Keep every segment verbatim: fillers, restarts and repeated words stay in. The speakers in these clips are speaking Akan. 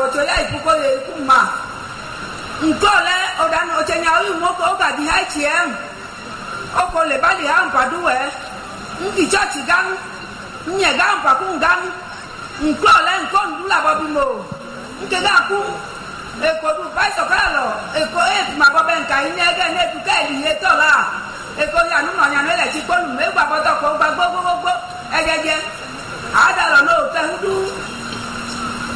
Wocho ya ipuko ye ikuma nkole odano ochenya oyu moko ogadi ha chiem oko le bali ha mpaduwe nki church gang nye gang paku gang nkole nkondula bobimo nke ga ku ekodu pastor kalo eko e ma bobe nka inege ne tuka eli etola eko ya nu no nya no le ti kponu me gba boto ko gba gbogbo ejeje adalo no te hudu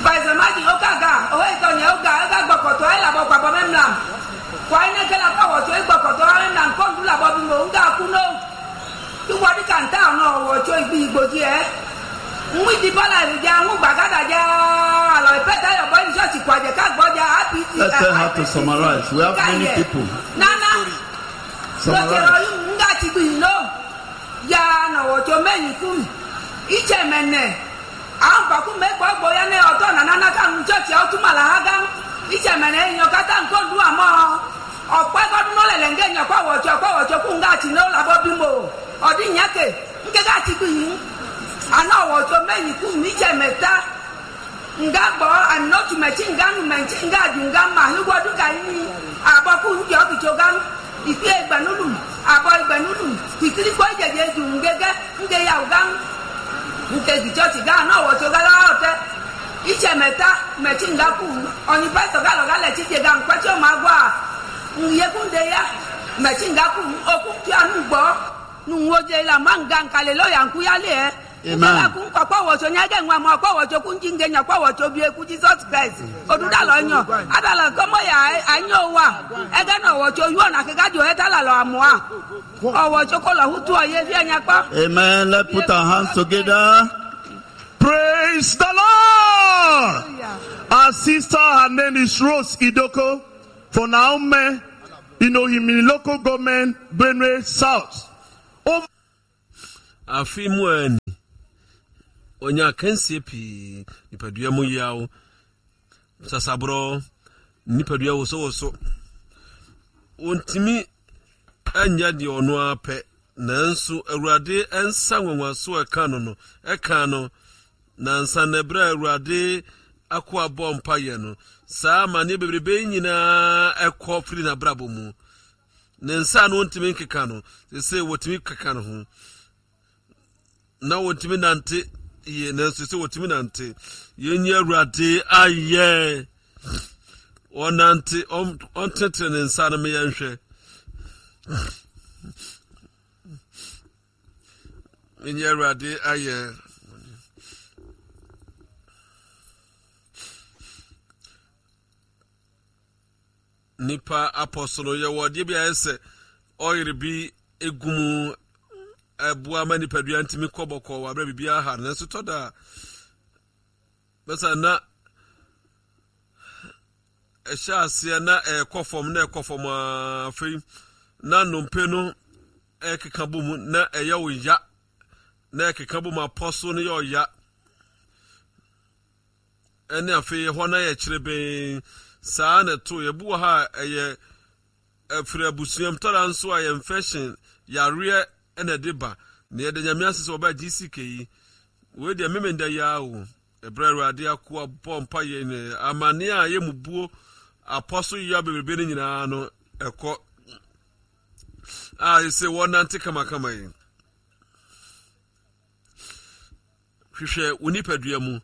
pastor maji okaga o e to nya oga oga gbokoto ai la bo gba bo memlam kwa ine ke la pa wo to gbokoto ai na nkondula bobimo nga ku no tu wodi kanta no wo to igbi igboji e nwi bala ja nwu gbagada ja alo ipeta yo boy church kwaje ka gboja happy. Let's tell her to summarize. We have many people. Nana summarize. Nga ti gbi no ya na wo to meyin ku iche mene an ba ku me gbogbo ya ne oto na nana ka nu church o tuma la ha gan iche mene yan kata nko du amo ope godun no lele nge yan kwa wo to kwa wo to ku nga ti no la bo bimo odi yan ke nke ga ti gbi ana wo to meyin ku mi je meta nga gbo anotu mechi nga nu mechi nga ju nga ma hiwodu ka yin aboku njo kicho gan ifi egbanulu abo egbanulu ikiri ko jeje ju ngege nge ya ugan nke di church ga na wo to ga la ote iche meta mechi nga ku oni pastor ga lo ga le chi je ga nkwa chi o ma gwa nye ku nde ya mechi nga ku okun ti anu gbo nu wo je la ma nga nkale lo ya nku ya le e. Amen. Amen. Let's put our hands together. Praise the Lord. Our sister, her name is Rose Idoko for Naomi, Inohimi local government, Benue South. Over. Afimu onya kansie pii nipadua mu yawo sasabro nipadua wo so wo so ontimi anya de ono apɛ nanso Awurade ensa nwanwaso eka no no eka no nansa na bra Awurade akoa bɔ mpa no saa mane bebrebe nyina ekɔ firi na brabo mu ne nsa no ontimi nkeka no sese wotimi keka no ho na wotimi nante ye nanso se wotimi nante yenye Awurade ayɛ onante ontetere ne nsa no me yɛnhwɛ yenye Awurade ayɛ nipa apostle ye wode bi ayɛ oyere bi egumu eboa ma nipadua ntimi kɔbɔkɔ wa bra bibia ha nanso toda besa na ehya ase na ekɔfom na ekɔfom afei na nompe no ekeka bom na eye wo ya na ekeka bom apostle no ye ya ene afei ho na ye kyerebe saa na to ye bu ha eye afiri abusuam tora nso a infection yare ene deba na ye de nyame asese oba G C K yi we de memenda ya o ebre Awurade akoa bɔ mpa ye ne amane a ye mubuo apostle ya bebrebe ne nyina no ekɔ a se wonante kama kama yi hwehwɛ onipadua mu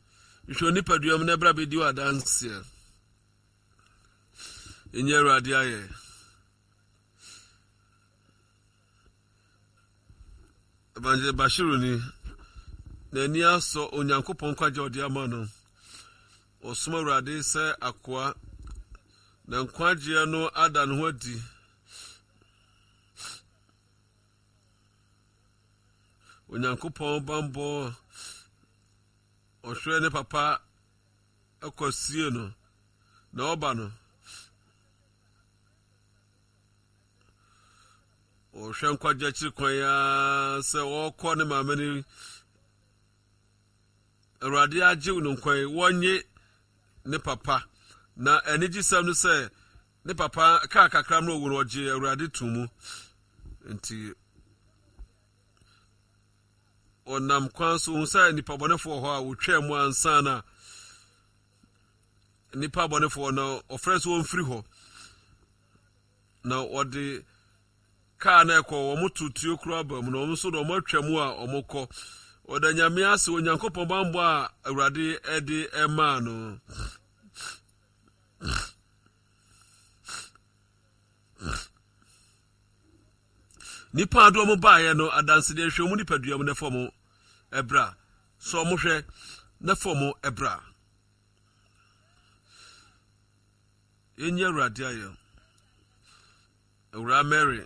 hwehwɛ onipadua mu na ebra be di wa dance enye Awurade ayɛ Evangelist Bashiru ni n'ani asɔ Onyankopɔn kwagye ɔde ama no ɔsom Awurade sɛ akoa na nkwagyeɛ no ada ne ho adi Onyankopɔn bambɔ ɔhwɛ ne papa akɔsie no na ɔba no ɔhwɛ nkwagye akyiri kwan ya sɛ ɔkɔ ne maame ne Awurade agye no nkwan wɔnye ne papa na anigyesɛm no sɛ ne papa kaa kakra no owu no ɔgye Awurade to mu nti ɔnam kwan so hu sɛ nnipa bɔnefoɔ hɔ a wotwaa mu ansa na Nnipa abɔnefoɔ no ɔfrɛ sɛ wɔmfiri hɔ na wɔde kaa na ɛkɔ wɔn to tuo koro aba mu na wɔn nso de wɔn atwa mu a wɔn kɔ. Ɔda Nyame ase Onyankopɔn bammɔ a Awurade ɛde ɛmaa no. Nipa ado wɔn baeɛ no adansedeɛ hwɛ wɔn nipadua mu na fam ɛbra so wɔn hwɛ na fam ɛbra. Yɛnyɛ Awurade ayɛ. Awura Mary.